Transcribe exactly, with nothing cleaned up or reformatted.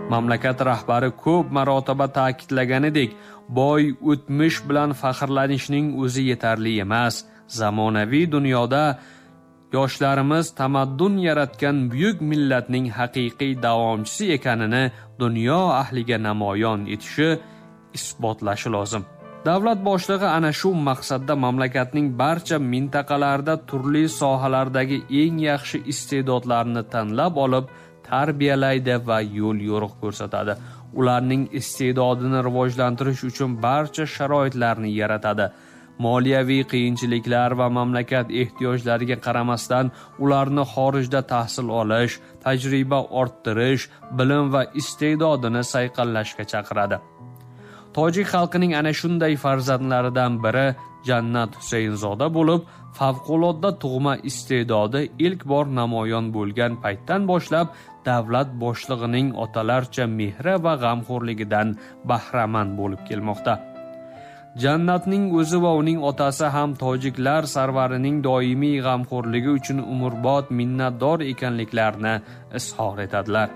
Mamlakat rahbari ko'p marotaba ta'kidlaganidek, boy o'tmish bilan faxrlanishning o'zi yetarli emas. Zamonaviy dunyoda yoshlarimiz tamaddun yaratgan buyuk millatning haqiqiy davomchisi ekanini dunyo ahliga namoyon etishi, isbotlashi lozim. Davlat boshlig'i ana shu maqsadda mamlakatning barcha mintaqalarida turli sohalardagi eng yaxshi iste'dodlarni tanlab olib, tarbiyalaydi va yo'l yo'riq ko'rsatadi. Ularning iste'dodini rivojlantirish uchun barcha sharoitlarni yaratadi. Moliyaviy qiyinchiliklar va mamlakat ehtiyojlariga qaramasdan ularni xorijda tahsil olish, tajriba orttirish, bilim va iste'dodini sayqallashga chaqiradi. Tojik xalqining ana shunday farzandlaridan biri Jannat Husaynzoda bo'lib, favqulodda tug'ma iste'dodi ilk bor namoyon bo'lgan paytdan boshlab davlat boshlig'ining otalarcha mehri va g'amxo'rligidan bahramand bo'lib kelmoqda. Jannatning o'zi va uning otasi ham tojiklar sarvarining doimiy g'amxo'rligi uchun umrbod minnatdor ekanliklarini izhor etadilar.